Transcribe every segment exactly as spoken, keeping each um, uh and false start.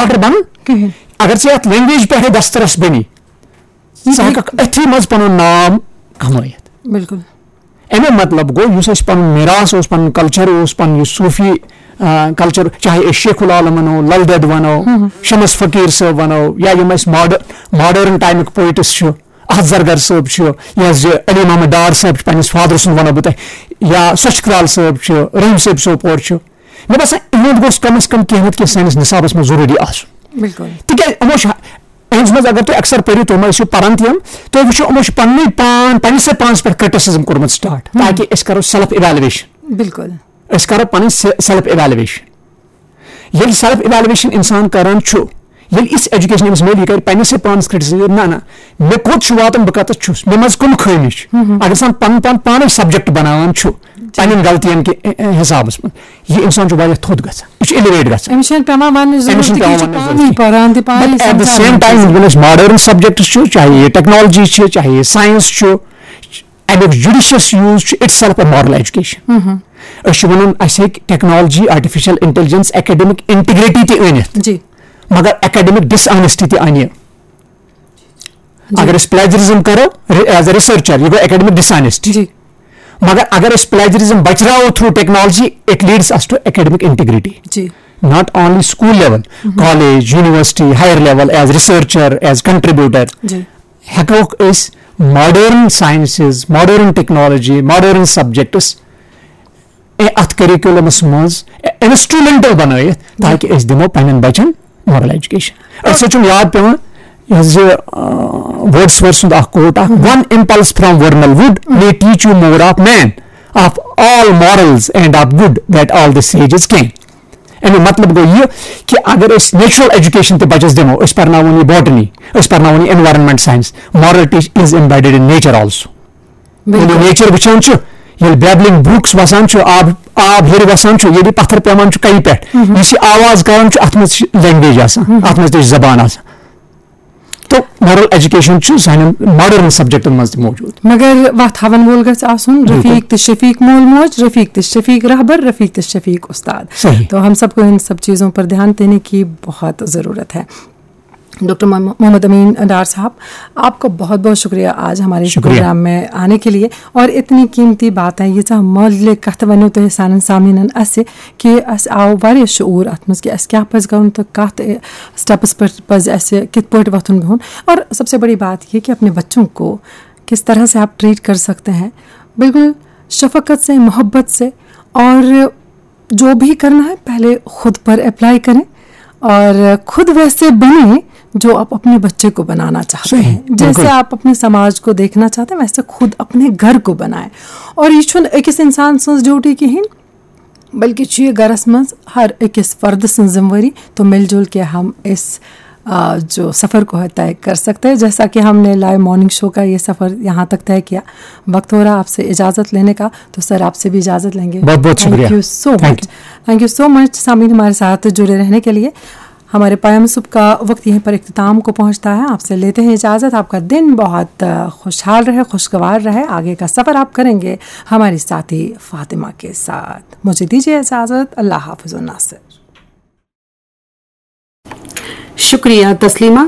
Doctor بنُن کِہیٖنۍ۔ اگر ژےٚ یتھ لینگویج پٮ۪ٹھے دسترس بنی، ژٕ ہیٚککھ أتھی منٛز پنُن نام کمٲیِتھ۔ بِلکُل۔ اَمیُک مطلب گوٚو، یُس اَسہِ پنُن میراث اوس، پنُن کلچر اوس، پنُن یُس صوٗفی، آ، کلچر، چاہے أسۍ شیخ العالم ونو، لل دٮ۪د ونو، شمس فقیٖر صٲب ونو، یا یِم اَسہِ ماڈ-، ماڈرن ٹایمٕکۍ پوئٹس چھِ، احد زرگر صٲب چھُ، یا زِ علی محمد ڈار صٲب چھُ، پننِس فادر سُنٛد ونو بہٕ تۄہہِ، یا سۄچھ کرال صٲب چھُ، رحیم صٲب سوپور چھُ۔ مےٚ باسان، یِہُنٛد گوٚژھ کم از کم کینٛہہ نتہٕ کینٛہہ سٲنِس نصابس منٛز ضروٗری آسُن۔ بِلکُل۔ تِکیازِ یِمو چھِ، یِہنٛز منٛز اگر تُہۍ اکثر پٔرِو، تُہۍ ما ٲسِو پران تہِ یِم، تُہۍ وٕچھِو، یِمو چھِ پننُے پان، پننِسے پانس پٮ۪ٹھ کرٹیسزم کوٚرمُت سٹارٹ، تاکہِ أسۍ کرو سیلف ایویلویشن۔ بِلکُل۔ أسۍ کرو پنٕنۍ سیلف ایویلویشن۔ ییٚلہِ سیلف ایویلویشن انسان کران چھُ، ییٚلہِ یِژھ ایجوکیشن أمِس میلہِ، یہِ کرِ پننِسے پانس کرٹیسزم، نہ نہ، مےٚ کوٚت چھُ واتُن، بہٕ کتتھ چھُس، مےٚ منٛز کٕم خٲمی چھِ۔ اگر انسان پنُن پان پانے سبجیکٹ بناوان چھُ پننٮ۪ن غلطین کہِ، ا، ا، حسابس منٛز، یہِ انسان چھُ واریاہ تھوٚد گژھان، یہِ چھُ ایلیویٹ گژھان۔ أمِس چھُنہٕ پٮ۪وان وننٕچ أمِس ضروٗرت، چھُنہٕ یہِ پٮ۪وان چھُ وننٕچ پانے ضروٗرت۔ پران تہِ پانے But at the سمجھان same تہِ۔ time، یِم أسۍ ماڈرن سبجیکٹس چھِ، چاہے یہِ ٹیکنالوجی چھِ، چاہے یہِ ساینس چھُ، اَمیُک جُڈیشس یوٗز چھُ، it's self a moral education۔ أسۍ چھِ ونان، اسہِ ہیٚکہِ technology, artificial intelligence, academic integrity تہِ أنِتھ، جی۔ مگر اکیڈمک ڈس آنیسٹی تہِ انہِ۔ اگر أسۍ پلیجرزم کرو، ایز اے ریسرچر، یہِ گوٚو اکیڈمک ڈس آنیسٹی۔ جی۔ مگر اگر أسۍ پلیجرزم بچراوو through technology, it leads us to academic integrity۔ جی۔ Not only school level, college, university, higher level, as researcher, as contributor۔ جی۔ ہیٚکوکھ أسۍ modern sciences, modern technology, modern subjects اَتھ curriculums منٛز انسٹرومینٹل بنٲیِتھ، تاکہِ أسۍ دِمو پننٮ۪ن بچن مارل ایجوکیشن۔ أسۍ چھُم یاد پٮ۪وان، یہِ حظ یہِ، آ، ورڈسورتھ سُنٛد اکھ کوٹ اکھ، "One impulse from vernal wood may teach you more of man, of all morals and of good that all the sages can۔" اَمیُک مطلب گوٚو یہِ کہِ اگر أسۍ نیچرل ایجوکیشن تہِ بچس دِمو، أسۍ پرناوون یہِ باٹنی، أسۍ پرناوون یہِ environment science, moral teach is embedded in nature also۔ ییٚلہِ بِلکُل۔ نیچر وٕچھان چھُ، ییٚلہِ بیبلنگ بروکس وسان چھُ، آب، آب ہیٚرِ وسان چھُ، ییٚلہِ پتھر پیوان چھُ کنہِ پٮ۪ٹھ، یُس یہِ آواز کران چھُ، اتھ منٛز چھِ لینگویج آسان، اتھ منٛز تہِ چھِ زبان آسان۔ تو مارل ایجوکیشن چھُ سانٮ۪ن ماڈرن سبجیکٹن منٛز تہِ موجود۔ مگر وتھ ہاون وول گژھِ آسُن رفیق تہٕ شفیق، مول موج رفیق تہٕ شفیق رہبر، رفیق تہٕ شفیق استاد۔ صحیح۔ تو ہم سب کو ان سب چیزوں پر ध्यान देने की बहुत ضرورت ہے۔ ڈاکٹر محمد امین ڈار صاحب، آپ کا بہت بہت شکریہ آج ہمارے اس شکریہ۔ پروگرام میں آنے کے لیے اور اتنی قیمتی باتیں، ییٖژاہ مۄلہِ کتھٕ ؤنِو تۄہہِ سانٮ۪ن سامعیٖنن اسہِ، کہِ اسہِ آو واریاہ شعوٗر اتھ منٛز کہِ اسہِ کیٛاہ پزِ کرُن تہٕ کتھ اسٹیپس پٮ۪ٹھ پزِ اسہِ کِتھ پٲٹھۍ وۄتھُن بِہُن۔ اور سب سے بڑی بات یہ کہ اپنے بچوں کو کس طرح سے آپ ٹریٹ کر سکتے ہیں، بالکل شفقت سے، محبت سے، اور جو بھی کرنا ہے پہلے خود پر اپلائی کریں اور خود ویسے بنیں جو آپ اپنے بچے کو بنانا چاہتے صحیح، ہیں۔ جیسے بالکل۔ آپ اپنے سماج کو دیکھنا چاہتے ہیں، ویسے خود اپنے گھر کو بنائیں۔ اور یہ چھُنہٕ أکِس انسان سٕنٛز ڈیوٹی کِہیٖنۍ، بلکہ چھُ یہِ گرس منٛز ہر أکِس فردٕ سٕنٛز ذمہٕ وٲری۔ تو مل جل کے ہم اس آ، جو سفر کو ہے طے کر سکتے ہیں۔ جیسا کہ ہم نے لائیو مارننگ شو کا یہ سفر یہاں تک طے کیا، وقت ہو رہا آپ سے اجازت لینے کا، تو سر آپ سے بھی اجازت لیں گے۔ بہت بہت شکریہ۔ Thank you so Thank much۔ Thank you so much سامعین، ہمارے ساتھ جڑے رہنے کے لیے۔ ہمارے پیام صبح کا وقت یہیں پر اختتام کو پہنچتا ہے۔ آپ سے لیتے ہیں اجازت۔ آپ کا دن بہت آ، خوشحال رہے، خوشگوار رہے۔ آگے کا سفر آپ کریں گے ہماری ساتھی فاطمہ کے ساتھ۔ مجھے دیجیے اجازت۔ اللہ حافظ الناصر۔ शुक्रिया तस्लीमा।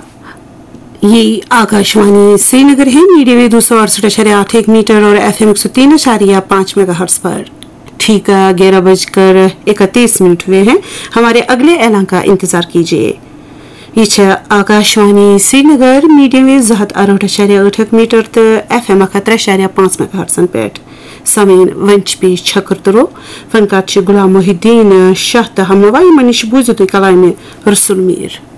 ये आकाशवाणी श्रीनगर है, मीडियम वेव दो सौ अड़सठ आशार्य आठ एक मीटर और एफएम एक सौ तीन आशार्य पाँच मेगाहर्ट्ज पर। ठीक ग्यारह बजकर इकतीस मिनट हुए हैं। हमारे अगले ऐलान का इंतजार कीजिए। ये छह आकाशवाणी श्रीनगर, मीडियम वेव زٕ ہَتھ اَرہٲٹھ اَشاریہ ٲٹھ میٖٹر تہٕ ایف ایم اَکھ ہَتھ ترٛےٚ اَشاریہ پانٛژھ میگا ہرٹزن پٮ۪ٹھ۔ سامعین، وۄنۍ چھِ پیش چھکر تُلو۔ فنکار چھِ غلام محی الدین شاہ تہٕ ہمنوا۔ یِمن نِش بوٗزِو تُہۍ کلامہِ رسول میٖر۔